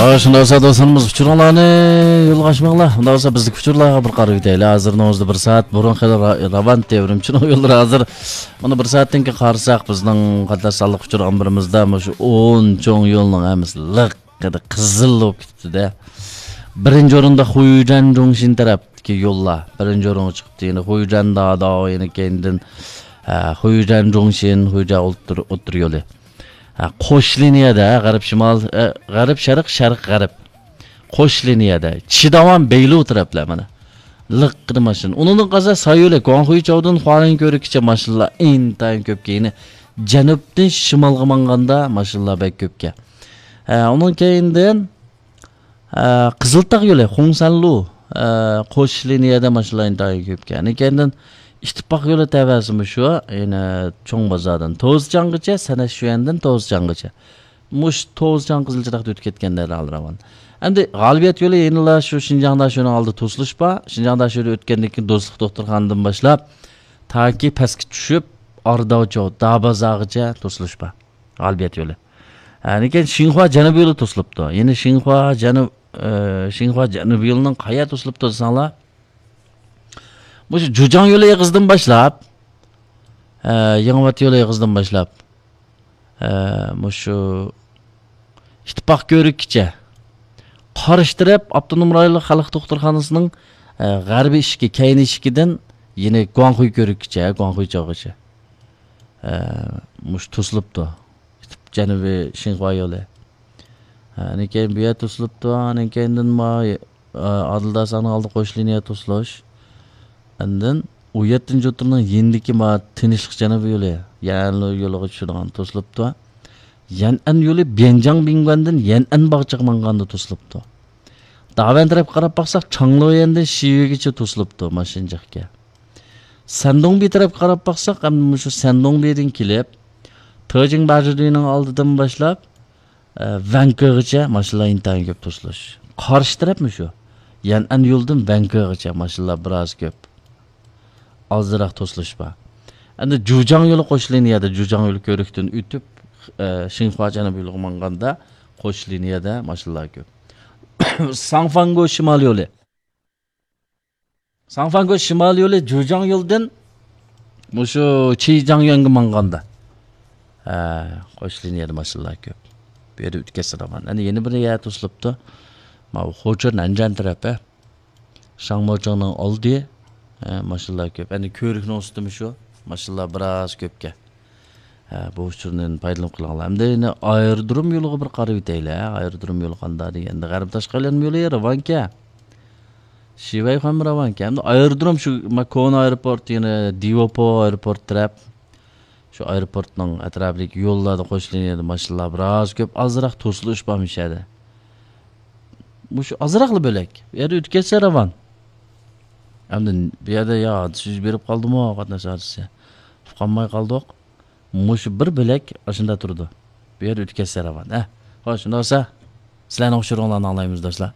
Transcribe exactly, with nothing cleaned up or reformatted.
شۇنداق بولسا دوستلىرىمىز، ئۇچۇرۇڭلارنى يولغا ئاچماڭلار. ئۇنداق بولسا بىزدىكى ئۇچۇرلارغا بىر قاراپ ئۆتەيلى. ھازىرنىڭ ئۆزىدە بىر سائەت بۇرۇن خېلى را-، راۋان تېۋرىمچىنىڭ يوللىرى ھازىر. مانا بىر سائەتتىن كېيىن قارىساق، بىزنىڭ قاتناش سانلىق ئۇچۇر ئامبىرىمىزدا مۇشۇ ئون چوڭ يولنىڭ ھەممىسى لىق قىزىل بولۇپ كېتىپتۇ-دە. بىرىنچى ئورۇندا خۇيجەن جۇڭشىن تەرەپتىكى يوللار بىرىنچى ئورۇنغا چىقىپتۇ. يەنە خۇيجەن داداۋ، يەنە كەينىدىن، ھە، خۇيجەن جۇڭشىن، خۇيجەن ئوتتۇرا، ئوتتۇرا يولى. ھە، قوش لىنىيەدە، غەرب شىمال، ئە، غەرب شەرق، شەرق غەرب. قوش لىنىيەدە. چىداۋان بەيلۇ تەرەپلەر مانا. لىققىدە ماشىنا. ئۇنىڭدىن قالسا سايولى، گۇاڭخۇي چاۋدىن خۇالىن كۆۋرۈكىچە ماشىنىلار ئىنتايىن كۆپ. كېيىن جەنۇبتىن شىمالغا ماڭغاندا ماشىنىلار بەك كۆپكەن. ھە، ئۇنىڭ كەينىدىن، ھە، قىزىلتاغ يولى، خۇڭسەنلۇ، ھە، قوش لىنىيەدە ماشىنىلار ئىنتايىن كۆپكەن. ئۇنىڭ كەينىدىن ئىتتىپاق يولى تەۋەسىمۇ شۇ، يەنە چوڭ بازاردىن توزچاڭغىچە، سەنەششۈەندىن توزچاڭغىچە. مۇشۇ توزچاڭ قىزىل چىراغدا ئۆتۈپ كەتكەن دەرھال راۋان. ئەمدى غالىبىيەت يولى يەنىلا شۇ شىنجاڭ داشۆنىڭ ئالدىدا توسۇلۇش بار. شىنجاڭ داشۆدە ئۆتكەندىن كېيىن دوستلۇق دوختۇرخانىدىن باشلاپ، تاكى پەسكە چۈشۈپ، ئارداۋچو، دابازاغىچە توسۇلۇش بار. غالىبىيەت يولى. ئەنىكەن شىنخۇا جەنۇبىي يولى توسۇلۇپتۇ. يەنە شىنخۇا جەنۇب، ئە، شىنخۇا جەنۇبىي يولىنىڭ قايا توسۇلۇپتۇ دېسەڭلار، مۇشۇ جۇجاڭ يولى ئېغىزىدىن باشلاپ، ئە، يېڭىۋات يولى ئېغىزىدىن باشلاپ، ئە، مۇشۇ ئىتتىپاق كۆۋرۈكىچە، قارشى تەرەپ ئاپتونوم رايونلۇق خەلق دوختۇرخانىسىنىڭ، ئە، غەربىي ئىشىكى، كەينى ئىشىكىدىن يەنە گۇاڭخۇي كۆۋرۈكىچە، گۇاڭخۇي چوغىچە. ئە، مۇشۇ توسۇلۇپتۇ. ئىتتىپ جەنۇبىي شىنخۇا يولى. ئاندىن كېيىن بۇ يەر توسۇلۇپتۇ. ئاندىن كېيىندىن ما، ئادىل داساننىڭ ئالدى قوش لىنىيە توسۇلۇش. ئاندىن ئون يەتتىنچى ئوتتۇرىنىڭ يېنىدىكى ما تىنچلىق جەنۇبىي يولى، يەنئەن يولىغا چۈشىدىغان توسۇلۇپتۇ. يەنئەن يولى بيەنجاڭ بىڭگۈەندىن يەنئەن باغچىغا ماڭغاندا توسۇلۇپتۇ. داۋەن تەرەپكە قاراپ باقساق، چاڭلۇيەندىن شىۋېيگىچە توسۇلۇپتۇ ماشىنىجىقكە. سەندۇڭبى تەرەپكە قاراپ باقساق، ئەمدى مۇشۇ سەندۇڭبىدىن كېلىپ، تېجىڭ باجىدۈينىڭ ئالدىدىن باشلاپ، ئە، ۋەنكېغىچە ماشىنىلار ئىنتايىن كۆپ توسۇلۇش. قارشى تەرەپمۇ شۇ. يەنئەن يولىدىن ۋەنكېغىچە ماشىنىلار بىراز كۆپ. ئازراق توسۇلۇش بار. ئەمدى جۇجاڭ يولى قوش لىنىيەدە، جۇجاڭ يولى كۆۋرۈكتىن ئۆتۈپ، ئە، شىنخۇا جەنۇبىي يولىغا ماڭغاندا قوش لىنىيەدە ماشىنىلار كۆپ. ساڭفاڭگو شىمال يولى. ساڭفاڭگو شىمال يولى جۇجاڭ يولىدىن مۇشۇ چىجاڭيۈەنگە ماڭغاندا، ھە، قوش لىنىيەدە ماشىنىلار كۆپ. بۇ يەردە ئۆتكەزسە راۋان. ئەنە يەنە بىر يەر توسۇلۇپتۇ. ماۋۇ خوچۇ نەنجەن تەرەپى. شاڭموچىڭنىڭ ئالدى. ھە، ماشىنىلار كۆپ. ئەنە كۆۋرۈكنىڭ ئۈستىمۇ شۇ. ماشىنىلار بىراز كۆپكەن. ھە، بۇ ئۇچۇرنى پايدىلىنىپ قېلىڭلار. ئەمدى يەنە ئايرودروم يولىغا بىر قاراپ ئۆتەيلى، ھە. ئايرودروم يولى قانداق دېگەندە، غەربىي تاشقى ئايلانما يولى راۋانكەن. شىۋەيخۇەنمۇ راۋانكەن. ئەمدى ئايرودروم شۇ، ما، كونا ئايروپورت، يەنە دىۋوپو ئايروپورت تەرەپ. شۇ ئايروپورتنىڭ ئەتراپىدىكى يوللاردا قوش لىنىيەدە ماشىنىلار بىراز كۆپ، ئازراق توسۇلۇش بار مۇشۇ يەردە. مۇشۇ ئازراقلا بۆلەك. بۇ يەردە ئۆتكەزسە راۋان. ئەمدى بۇ يەردە يا ھادىسە يۈز بېرىپ قالدىمۇ، قاتناش ھادىسىسى. ئۇقالماي قالدۇق. مۇشۇ بىر بۆلەك ئاشۇنداق تۇرىدۇ. بۇ يەردە ئۆتكەزسە راۋان. ھە. خوش، شۇنداق بولسا، سىلەرنىڭ ئۇچۇرۇڭلارنى ئاڭلايمىز، دوستلار.